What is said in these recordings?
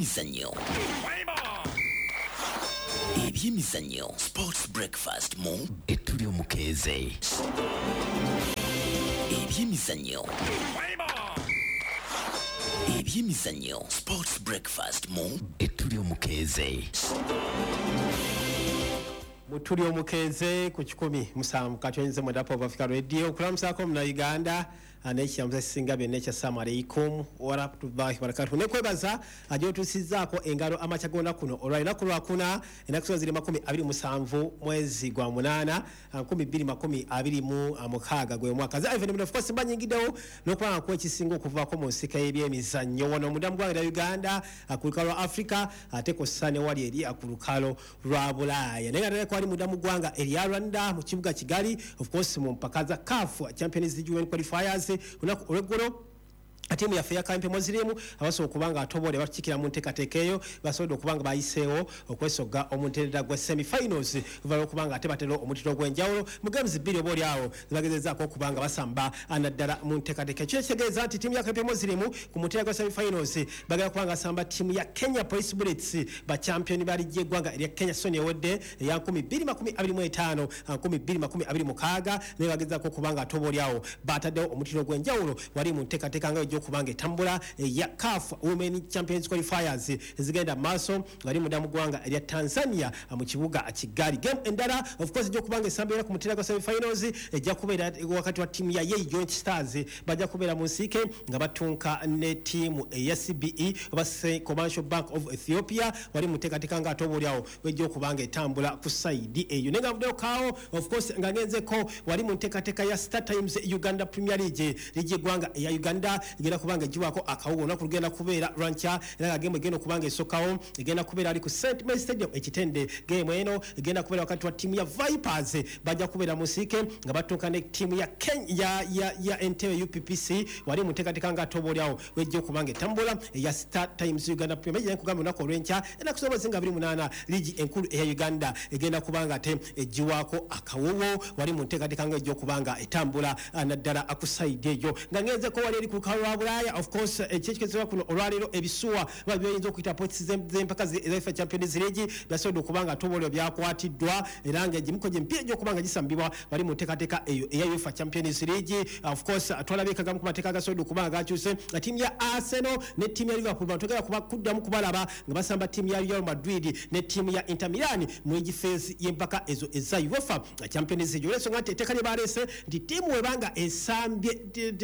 Ebyemizannyo, ebyemizannyo, Sports Breakfast mu Etuli Omukeeze. Ebyemizannyo, ebyemizannyo, Sports Breakfast mu Etuli Omukeeze. Mutuli Omukeeze ku 107.9 Pop Africa Radio. Okulamusaako Munnayuganda n'ekiramusa kisinga byonna ekya assalamu alaikum warahmatullahi wabarakatuh. Nekwebaza gyotuusizzaako engalo amakya g'olunaku kuno olwa lunaku lwakuna, ennaku zino ziri 27 mwezi gwa 8 2026 gwe mwaka. Ze Ivan, of course, mba nyingiddewo n'okuba nga nkuwa ekisinga okuvaako mu nsika y'ebyemizannyo wano munda mu ggwanga lya Uganda, ku lukalo lwa Africa, ate kw'ossa ne wali eri ku lukalo lwa Bulaaya. Naye nga ddala kwali munda mu ggwanga erya Rwanda, mu kibuga Kigali, of course, mu mpaka za CAF Champions League Women Qualifiers. Olunaku olw'eggulo, ttiimu yaffe ya Kawempe Muslim, abasobola okuba nga atobole batukiikira mu nteekateeka eyo, basobodde okuba nga bayiseewo okwesogga omutendera gwa semifinals, oluvannyuma lw'okuba nga ate batera omutindo ogw'enjawulo mu games bbiri oba oli awo zebagezezaako okuba nga basamba naddala mu nteekateeka. Ekyo kitegeeza nti ttiimu ya Kawempe Muslim ku mutendera gwa semifinals bagenda kuba nga basamba ttiimu ya Kenya Police Bullets, bachampion ba liigi y'eggwanga erya Kenya season ewedde eya 2025 2026. Naye bagezaako okuba nga ate oba oli awo bataddewo omutindo ogw'enjawulo wali mu nteekateeka nga ejja okuba nga etambula eya CAF Women Champions Qualifiers ezigenda mu maaso nga li munda mu ggwanga erya Tanzania mu kibuga Kigali. Game endala, of course, ejja okuba nga esambira ku mutendera gwa semifinals ejja kubeera wakati wa ttiimu ya Yei Joint Stars, bajja kubeera mu nsiike nga batunka ne ttiimu eya CBE oba Commercial Bank of Ethiopia wali mu nteekateeka nga ate oba oli awo wejja okuba nga etambula ku side eyo. Naye nga nvuddeyo kaawo, of course, nga ngenzeko wali mu nteekateeka ya Star Times Uganda Premier League, liigi y'eggwanga eya Uganda egenda kuba nga egibwako akawuwo. Olunaku lugenda kubeera lwankya, era nga game egenda okuba nga esookawo egenda kubeera ali ku St Mary Stadium Ekitende. Game eno egenda kubeera wakati wa ttiimu ya Vipers, bajja kubeera mu nsiike nga batuuka ne ttiimu ya, ya Entebbe UPPC wali mu nteekateeka nga ate oba oli awo wejja okuba nga etambula eya Star Times Uganda Premier League. Nkugamba, olunaku olw'enkya, ennaku z'omwezi nga 28, liigi enkulu eya Uganda egenda kuba nga ate eggiwako akawowo wali mu nteekateeka nga ejja okuba nga etambula naddala ku side eyo. Nga ngenzeko wali eri ku lukalu lwa Bulaaya, of course, ekyekikezebwa kuno olwaleero, ebisuwa oba byoyinza okuyita pots z'empaka eza UEFA Champions League byasobodde okuba nga tobolero byakwatiddwa, era nga egimu gyemipiira egy'okuba nga gisambibwa wali mu nteekateeka eyo eya UEFA Champions League. Of course, twalabye kagamu ku mateeka agasobodde okuba nga gakyuse, nga ttiimu ya Arsenal ne ttiimu ya Liverpool batogera kuba kuddamu kubalaba nga basamba ttiimu ya Real Madrid ne ttiimu ya Inter Milan mu league phase y'empaka ezo eza UEFA Champions League, olw'ensonga nti etteeka lye baleese nti ttiimu webanga esambye,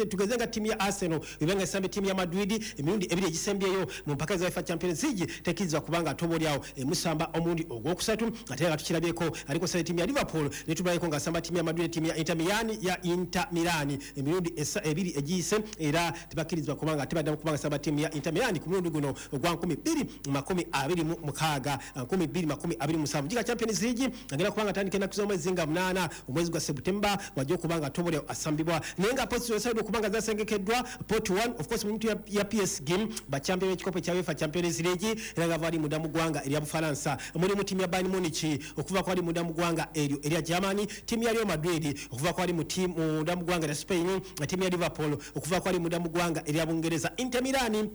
tugeze nga ttiimu ya Arsenal ebanga esambye ttiimu ya Madrid emirundi ebiri egisembyeyo mu mpaka za UEFA Champions League, tekkirizibwa kubanga ate oba oliawo emusamba omulundi ogwokusatu. Ate nga tukirabyeko aliko sala ttiimu ya Liverpool ne tubaleko ng'asamba ttiimu ya Madrid ne ttiimu ya Inter Milan, ya Inter Milan emirundi ebiri egiyise, era tebakkirizibwa kubanga tebaddamu kubanga samba ttiimu ya Inter Milan ku mulundi guno ogwa 2026 2027. Giga Champions League agenda kubanga atandika ennaku z'omwezi nga 8 omwezi gwa September, wajja okuba nga toboleo asambibwa. Naye nga pots zesaidde okuba nga zasengekeddwa, pot 1, of course, muntu ya PSG, bachampion b'ekikopo ekya UEFA Champions League, era nga bali munda mu ggwanga erya Bufalansa. Mulimu ttiimu ya Bayern Munich okuva kwali munda mu ggwanga eryo erya Germany, ttiimu ya Real Madrid okuva kwali mu munda mu ggwanga erya Spain, ttiimu ya Liverpool okuva kwali munda mu ggwanga erya Bungereza, Inter Milan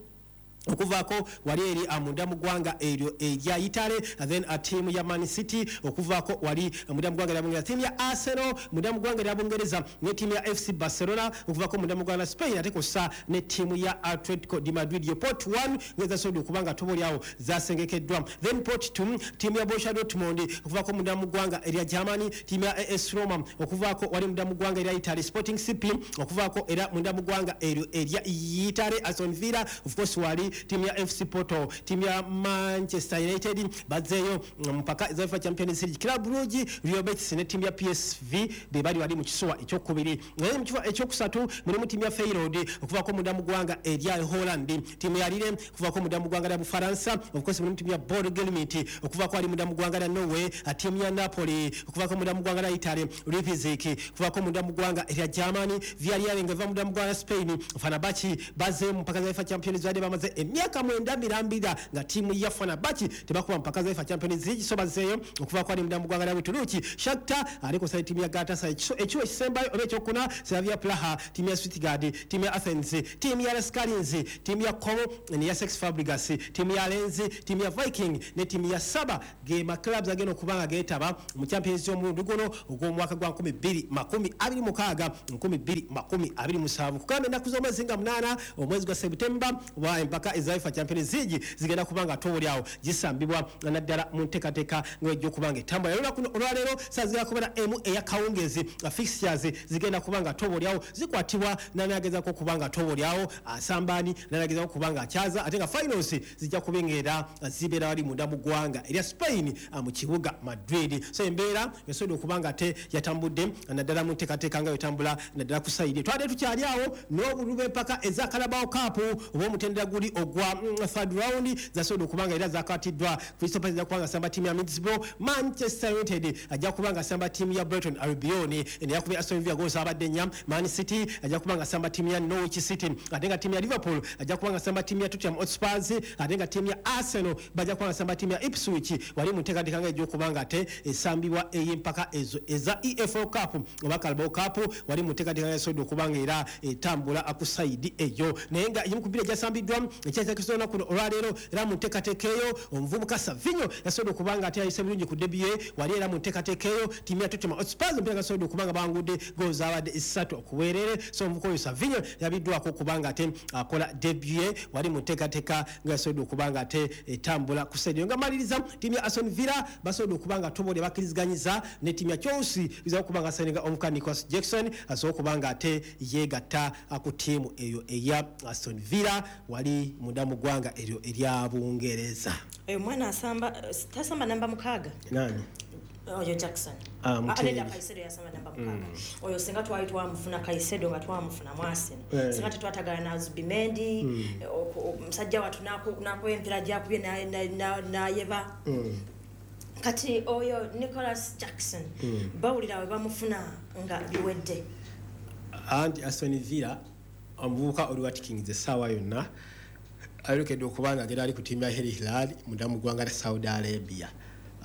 okuvaako wali eri munda mu ggwanga eryo erya Italy, then ttiimu ya Man City okuvaako wali munda mu ggwanga erya Bungereza, ttiimu ya Arsenal munda mu ggwanga erya Bungereza ne ttiimu ya FC Barcelona okuvaako munda mu ggwanga la Spain, ate kw'ossa ne ttiimu ya Atletico de Madrid. Yo pot 1 ngezasobodde okuba nga toba oliawo zasengekeddwa. Then pot 2, ttiimu ya Borussia Dortmund okuvaako munda mu ggwanga erya Germany, ttiimu ya AS Roma okuvaako wali munda mu ggwanga erya Italy, Sporting CP okuvaako era munda mu ggwanga eryo erya Italy, Aston Villa, of course, wali ttiimu ya FC Porto, ttiimu ya Manchester United bazzeeyo mpaka eza UEFA Champions League, Club Brugge, Real Betis ne ttiimu ya PSV be bali wali mu kisuwa ekyokubiri. Naye mu kifo ekyokusatu mulimu ttiimu ya Feyenoord okuvaako munda mu ggwanga erya Holland, ttiimu ya Lille okuvaako munda mu ggwanga lya Bufalansa, of course, mulimu ttiimu ya Bodo Glimt okuvaako ali munda mu ggwanga lya Norway, ttiimu ya Napoli okuvaako munda mu ggwanga lya Italy, Leipzig okuvaako munda mu ggwanga erya Germany, Villarreal nga eva munda mu ggwanga lya Spain, Fenerbahce bazze mu mpaka za UEFA Champions, badde bamaze Emyaka 9 mirambira nga ttiimu ya Fenerbahce tebakuba mpaka za UEFA Champions League. So bazeeyo okuva kwali munda mu ggwanga lya Buturuki. Shakhtar aliko sa ttiimu ya Galatasaray. Ekiwo ekisembayo oba ekyokuna, Slavia Praha, ttiimu ya Stuttgart, ttiimu ya Athens, ttiimu ya LASK Linz, ttiimu ya Como ne ya Cesc Fabregas, ttiimu ya Lens, ttiimu ya Viking ne ttiimu ya Saba ge ma clubs agenda okuba nga geetaba mu Champions y'omulundi guno ogw'omwaka gwa 2026 2027. Kugamba ennaku z'omwezi nga 8 omwezi gwa September wa empaka eza UEFA Champions League zigenda kuba nga toolyawo gisambibwa naddala mu nteekateeka ng'ejja okuba nga etambula. Olunaku olwaleero saa zigenda kubeera emu ey'akawungeezi, fixtures zigenda kuba nga tobolyawo zikwatibwa nanagezaako okuba nga tobolyawo asambaani nanagezaako okuba nga akyaza, ate nga finals zijja kuba ng'era zibeera wali munda mu ggwanga erya Spain mu kibuga Madrid. So embeera esobodde okuba nga ate yatambudde naddala mu nteekateeka nga yetambula naddala ku sayidi. Twabadde tukyali awo n'obululu bw'empaka eza Carabao Cup oba omutendera guli ogwa third round zasobodde okuba nga era zakwatiddwa. Crystal Palace ajja kuba nga asamba ttiimu ya Middlesbrough, Manchester United ajja kuba nga asamba ttiimu ya Brighton Albion eno yakubye Aston Villa goals abadde nnya. Man City ajja kuba nga asamba ttiimu ya Norwich City, ate nga ttiimu ya Liverpool ajja kuba nga asamba ttiimu ya Tottenham Hotspur, ate nga ttiimu ya Arsenal bajja kuba nga asamba ttiimu ya Ipswich wali mu nteekateeka nga ejja okuba nga ate esambibwa ey'empaka ezo eza EFL Cup oba Carabao Cup wali mu nteekateeka nga esobodde okuba nga era etambula ku sayidi eyo. Naye nga egimu ku mipiira egyasambiddwa ekyakyakisa olunaku olwaleero era mu nteekateeka eyo omuvubuka Savinho yasobodde okuba nga ate yayise bulungi ku debut ye wali era mu nteekateeka eyo ttiimu ya Tottenham Hotspur omupiira gasobodde okuba nga bawangudde goals zaabadde 3 okuweerere. So omuvubuka oyo Savinho yabiddwako okuba nga ate akola debut ye wali mu nteekateeka nga yasobodde okuba nga ate etambula ku sayidi eyo. Nga maliriza, ttiimu ya Aston Villa basobodde okuba nga tobole bakkiriziganyiza ne ttiimu ya Chelsea biza okuba nga sayininga omuvubuka Nicholas Jackson asobole okuba nga ate yeegatta ku ttiimu eyo eya Aston Villa wali munda mu ggwanga eryo erya Bungereza. Oyo mwana asamba, tasamba namba 6. Nani? Oyo Jackson. Ah, Mutebi. Nedda, Caicedo yasamba namba 6. Oyo singa twali twamufuna Caicedo nga twamufuna mu Arsenal. Singa tetwatagala na Zubimendi, omusajja wattu n'akuba emipiira gyakubye n'ayeba. Kati oyo Nicholas Jackson bawulira we bamufuna nga biwedde. Anti Aston Villa omuvubuka Oli Watkins essaawa yonna ayolekedde okuba nga agenda ali ku ttiimu ya Al Hilal munda mu ggwanga lya Saudi Arabia.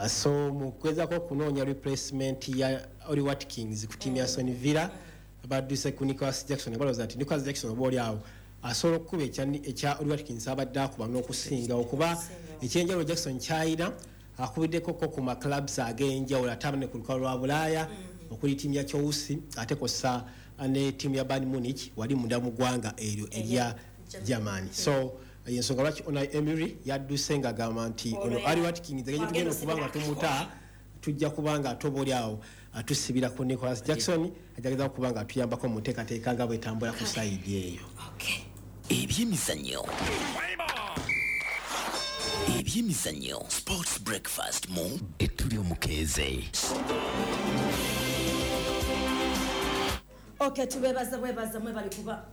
So mu kugezaako okunoonya replacement ya Oli Watkins ku ttiimu ya Aston Villa badduse ku Nicholas Jackson, balowooza nti Nicholas Jackson oba oli awo asobola okukuba ekya Oli Watkins abadde akuba n'okusinga, okuba ekyenjawulo Jackson ky'alina akubiddeko ko ku ma clubs ag'enjawulo ate abane ku lukalu lwa Bulaaya okuli ttiimu ya Chelsea ate kw'ossa ne ttiimu ya Bayern Munich wali munda mu ggwanga eryo erya Germany. So ensonga lwaki Unai Emery yadduse ng'agamba nti ono Oli Watkins engeri gye tugenda okuba nga tumuta tujja kuba nga ate oba oli awo atusibira ku Nicholas Jackson ajja okuba nga atuyambako mu nteekateeka nga bw'etambula ku sayidi eyo. Ebyemizannyo. Ebyemizannyo. Sports Breakfast mu Etuli Omukeeze. Okay, tubebaza bwebaza mwebale kuba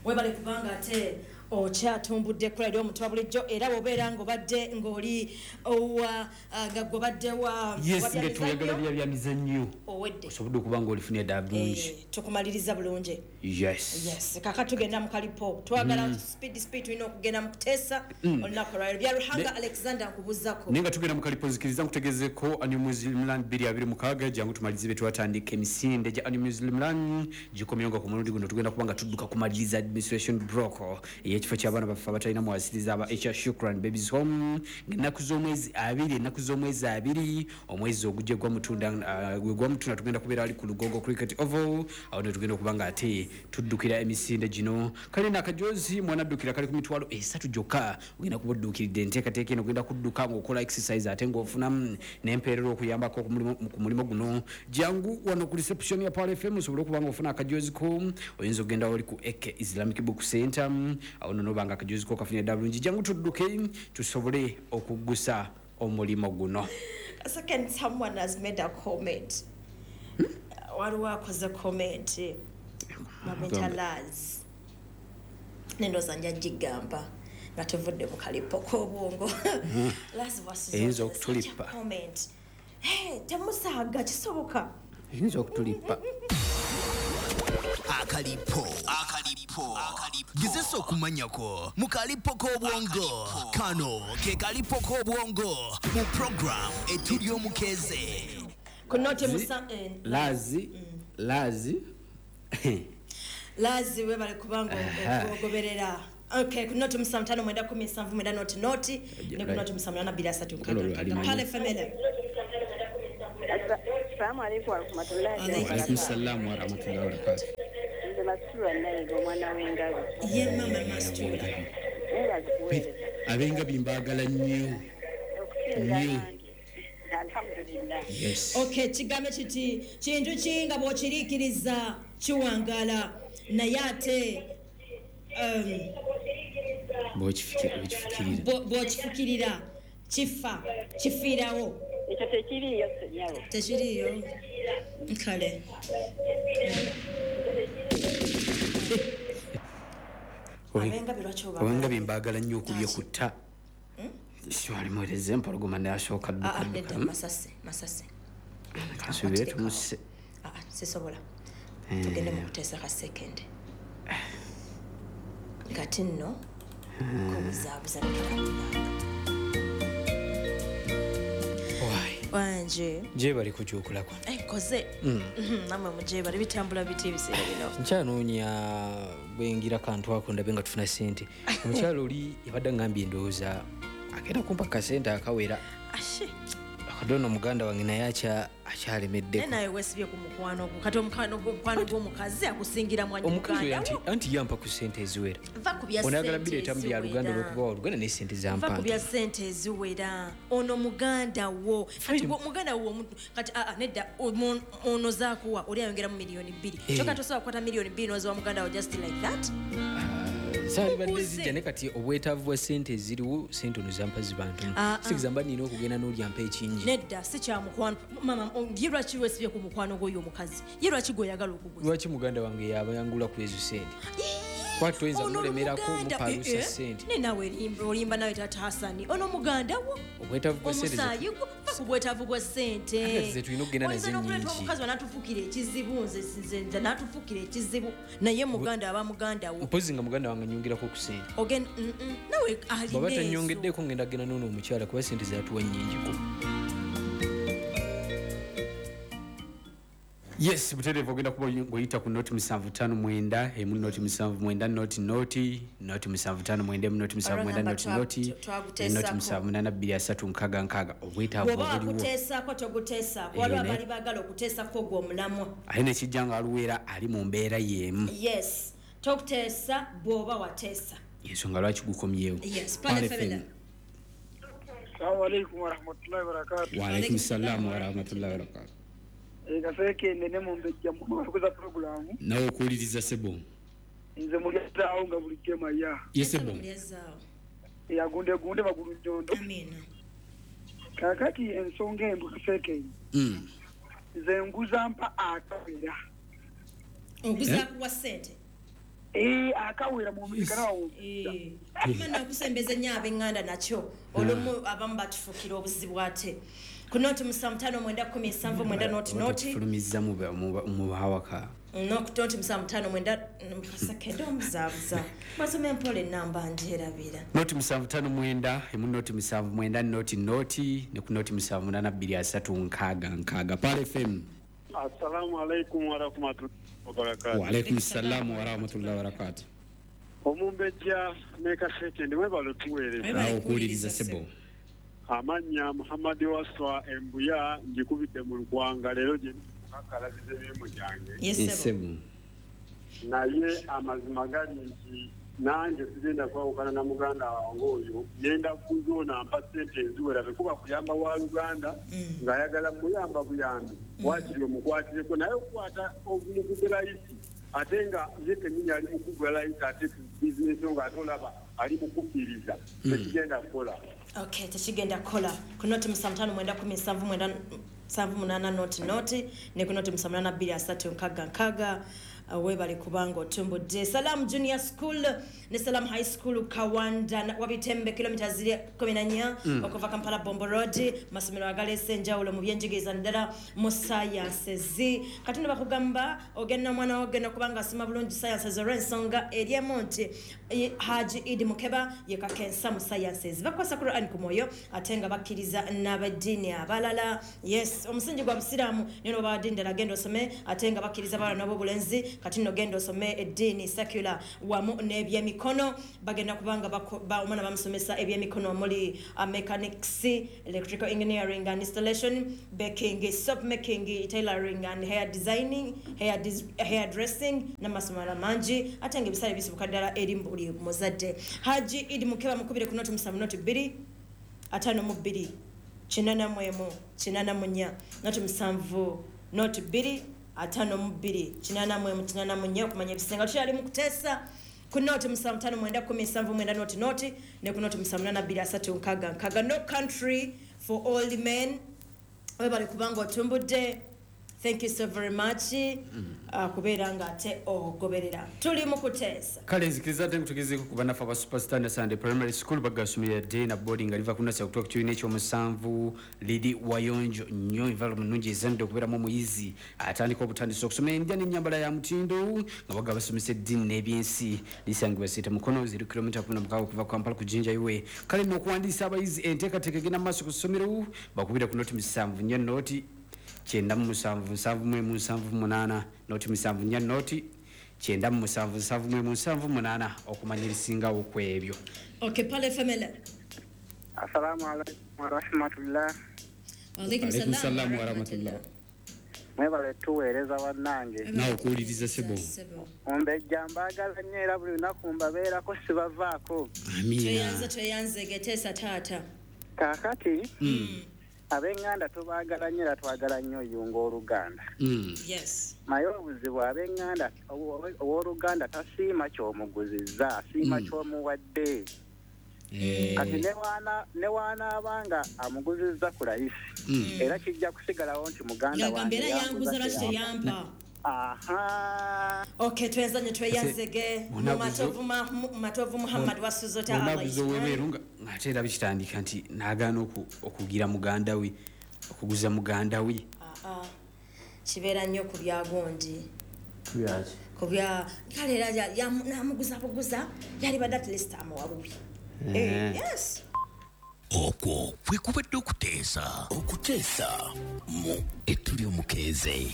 webale kubanga ate okyatumbudde ku radio omuntu wa bulijjo, era bw'obeera ng'obadde ng'oli owa nga gw'obadde wa Yes, wa nga tuyagala byamizannyo, bya byamizannyo. Owedde. Osobodde okuba ng'olifunye ddala bulungi. Tukumaliriza bulungi. Yes. Yes, kaka tugenda mu kalipo. Twagala speed speed, tulina okugenda mu kuteesa olunaku olwaleero. Bya Ruhanga Alexander nkubuuzako. Naye nga tugenda mu kalipo, nzikiriza nkutegezeeko Annual Muslim Run 2026. Jangu tumalirize bye twatandika. Emisinde gya Annual Muslim Run gikomyewo nga ku mulundi guno tugenda kuba nga tudduka kumaliriza administration block ey'ekifo ky'abaana baffe abatalina mwasiriza aba HR Shukran Babies Home, ng'ennaku z'omwezi 2, ennaku z'omwezi 2 omwezi ogujja gwa Mutunda, gwe gwa Mutunda, tugenda kubeera ali ku Lugogo Cricket Oval. Awo ne tugenda okuba nga ate tuddukira emisinde gino. Kale nakajozi mwana addukira kali ku 300,000 gyokka, ogenda kuba odduukiridde enteekateeka eno. Ogenda kudduka ng'okola exercise ate ng'ofunamu n'empeerera okuyambako ku mulimu guno. Jangu wano ku reception ya Power FM osobole okuba ng'ofuna akajozi ko. Oyinza okugenda wali ku Ek Islamic Book Center, awo nno noba nga akajozi ko kafunye ddala bulungi. Jangu tudduke tusobole okuggusa omulimu guno. Second, someone has made a comment. Waliwo akoze comment bamuyita Laz, nendowooza nja gigamba nga tuvudde mu kalipo k'obwongo. Laz wasuze Eyinza such a okutulipa. comment. Hey, temusaaga kisoboka. Eyinza okutulipa. Akalipo. Akalipo. Gezesa okumanyako mu kalipo k'obwongo. Kano ke kalipo k'obwongo mu program Etuli Omukeeze. Ku noti musa Lazi, lazi. Lazi webale kubanga ogoberera. Okay, ku noti 5 9 10 7 9 noti ne ku noti 7 8 2 3 6. Pale family. Assalamu alaikum warahmatullahi Wa alaikum salam wa rahmatullahi wa barakatuh. Nze Mastura Nayiga omwana w'engabi. Ye mama Mastura. Abengabi mbaagala nnyo. Nnyo. Alhamdulillah. Yes. Okay, kigambe kiti kintu ki nga bw'okiriikiriza kiwangala naye ate bw'okifukirira bw'okifukirira kifa kifiirawo. Ekyo tekiriiyo ssennyabo. Tekiriiyo. Kale. Abengabi mbaagala nnyo okubye ku tta. Siwalimuweereza empologoma n'asooka dduka dduka. Masase. Kasuubire tumusse. Sisobola. Tugende mu kuteesa ka second. Kati nno kubuzaabuza wanje gye bali kukyukulako. Nkoze namwe mugye bali bitambula biti ebiseera bino. Nkyanoonya bwengira kantu ako ndabe nga tufuna ssente. Omukyalo oli yabadde ngambye ndowooza agenda kumpa kasente akawera. Ashe. Akadono muganda wange naye akyalemeddeko. Naye weesibye ku mukwano gwo. Kati omukwano gw'omukazi akusingira mwanyi muganda. Omukazi anti yampa ku ssente eziwera. Va ku bya ssente. Onayagala bireeta mu bya Luganda olw'okuba wa Luganda naye ssente zampa. Va ku bya ssente eziwera. Ono muganda wo. Kati muganda wo kati nedda ono zaakuwa oli ayongeramu 2 million. Kyokka tosobola kukwata 2 million n'oziwa muganda wo just like that. Saalibadde zijja ne kati obwetaavu bwa ssente eziriwo ssente ono zampa ziba ntono. Sigeza mba nina okugenda n'olya mpa ekingi. Nedda si kya mukwano. Mama ye lwaki weesibye ku mukwano gw'oyo omukazi? Ye lwaki gw'oyagala okuguza? Lwaki muganda wange yabayangula ku ezo ssente? Kwati toyinza kumulemerako mupalusa ssente. Ne naawe olimba nawe taata Hasani. Ono muganda wo. Obwetaavu bwa ssente. Omusaayi gwo va ku bwetaavu bwa ssente. Ate ze tulina okugenda nazo nnyingi. Omukazi wanatufuukira ekizibu nze n'atufuukira ekizibu naye muganda aba muganda wo. Mpozi nga muganda wange nyongerako ku ssente. Nawe alina bw'aba tanyongeddeko ngenda genda n'ono omukyala kuba ssente zaatuwa nnyingiko. Yes, butereevu ogenda kuba ng'oyita ku noti 759 emu noti 79 noti noti noti 759 emu noti 79 noti noti noti 78 2 3 6 6. Obwetaavu obuliwo. Bw'oba wakuteesaako toguteesaako, waliwo abaali baagala okuteesako ogwo omulamwa. Ate nekijja nga aluweera ali mu mbeera y'emu. Yes, tokuteesa bw'oba wateesa. Ensonga lwaki gukomyewo. Yes, Pale FM. Assalamu alaikum warahmatullahi wabarakatuh. Wa alaikum salaam warahmatullahi wabarakatuh. Kaseke nene mumbejja mukuza programu. Nawe okuwuliriza sebo. Nze mulyazaawo nga bulijjo maya. Ye sebo. Yagunde gunde magulu njondo. Amina. Kakati ensonga embu Kaseke. Nze nguza mpa akawera. Oguza kuwa ssente. Akawera mu mubiri wawo. Mana okusembeza nnyo ab'enganda nakyo olumu abamu batufukira obuzibu ate. Ku noti 5 9 17 9 noti noti. Fulumizza mu bawaka. Noti 5 9 Kaseke omuzaabuza. Masome empola ennamba ngyerabira. Noti 7 5 9 emu noti 7 9 noti noti ne ku noti 7 8 2 3 6 6. Pale FM. Assalamu alaikum warahmatullahi wabarakatuh. Wa alaikum salam warahmatullahi wabarakatuh. Omumbejja ne Kaseke ndi mwebale otuweereza. Awo okuwuliriza sebo. Amannya Muhammad Waswa Embuya ngikubidde mu Lukwanga leero gye kakalabiza emirimu gyange. Yes sebo. Naye amazima gali nti nange sigenda kwawukana na muganda wange oyo ngenda kuzoona mpa ssente eziwera tekuba kuyamba wa Luganda ng'ayagala muyamba buyambi waakiri omukwatireko naye okukwata omugugu layisi ate nga ye kennyini ali mu kugula layisi ate bizinesi ng'ate olaba ali mu kukkiriza tekigenda kukola. Okay, tekigenda kukola. Ku noti 5 9 17 9 78 noti noti ne ku noti 7 8 2 3 6 6. Webale kubanga otumbudde. Salam Junior School ne Salam High School Kawanda Wabitembe, kilomita ziri 14 okuva Kampala Bombo Road. Masomero agaleese enjawulo mu byenjigiriza naddala mu sciences. Kati nno bakugamba ogenda omwana wo ogenda kubanga asoma bulungi sciences, olw'ensonga eriemu nti Haji Idi Mukeba ye kakensa mu sciences. Bakwasa Quran ku mwoyo ate nga bakkiriza n'abaddiini abalala. Yes, omusingi gwa busiraamu naye noba ddiini ddala genda osome, ate nga bakkiriza abaana n'ab'obulenzi. Kati nno genda osome eddiini secular wamu n'ebyemikono. Bagenda kubanga omwana bamusomesa ebyemikono omuli mechanics, electrical engineering and installation, baking, soap making, tailoring and hair designing, hair dressing n'amasomero mangi, ate nga ebisale bisibuka ddala eri buli muzadde. Haji Idi Mukeba mukubire ku 0 7 0 2 52 81 84, 0 7 0 2 52 81 84 okumanya ebisinga. Tukyali mu kuteesa ku 0 7 5 9 10 79 0 0 ne ku 0 7 8 2 3 6 6. No Country for Old Men, webale kubanga otumbudde. Thank you so very much kubeera nga ate ogoberera. Tuli mu kuteesa. Kale nzikiriza ate nkutegezeeko ku bannaffe aba Superstar Sunday Primary School. Bagasomera dde na boarding nga liva ku nasi okutuuka ku kibiina ekyomusanvu. Liri wayonjo nnyo, environment nnungi ezanidde okubeeramu omuyizi atandika obutandisi okusoma. Endya n'ennyambala ya mutindo, nga baga basomesa eddiini n'ebyensi. Lisangibwa Seeta Mukono, ziri kilomita 16 okuva Kampala ku Jinja Highway. Kale nno okuwandiisa abayizi, enteekateeka egenda mu maaso ku ssomero. Bakubira ku 0 7 4 0 97 71 78, 0 7 4 0 97 71 78 okumanya ebisingawo ku ebyo. Okay, pale family. Assalamu alaikum warahmatullah. Alaikum Alaikum salam salam warahmatullah. Mwebale tuweereza bannange. Naawe okuwuliriza, sebo. Ombejja, mbaagala nnyo era buli lunaku mbabeerako, sibavaako. Amiina. Tweyanze, tweyanze. Geteesa taata. Kaakati ab'eŋŋanda tubaagala nnyo era twagala nnyo oyunga oluganda. Naye obuzibu ab'eŋŋanda, owooluganda tasiima ky'omuguzizza, asiima ky'omuwadde. Kati ne waanaaba nga amuguzizza ku layisi, era kijja kusigalawo nti muganda Yagamba wange era yanguza, lwaki teyampa. teyampa? Aha. Okay, tweyanzanye, tweyanzege. Matovu Muhammad wasuzota. Bonaguza ow'ebweru nga ate era bikitandika nti n'agaana okugira muganda we, okuguza muganda we. Ah, kibeera nnyo ku byagundi, ku bya kale era namuguza buguza, yali badde at least amuwa bubi. Yes. Okwo kwe kubadde okuteesa, okuteesa mu Ettuli Omukeeze.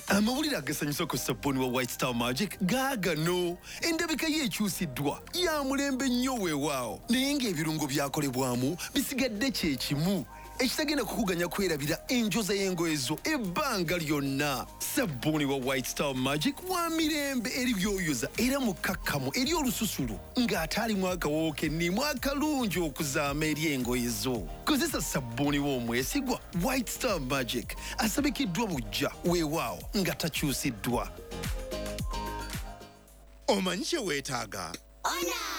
Amawulire agasanyusa ku sabbuuni wa White Star Magic gaagano. Endabika ye ekyusiddwa, ya mulembe nnyo weewaawo, naye ng'ebirungo byakolebwamu bisigadde kye kimu, ekitagenda kukuganya kwerabira enjoza y'engoye zo ebbanga lyonna. Sabbuuni wa White Star Magic wa mirembe eri byoyoza era mukkakkamu eri olususu ng'ate alimu akawoowo kennimu akalungi okuzaama eri engoye zo. Kozesa sabbuuni w'omwesigwa White Star Magic, asabikiddwa bujja weewaawo nga takyusiddwa. Omanyi kye weetaaga.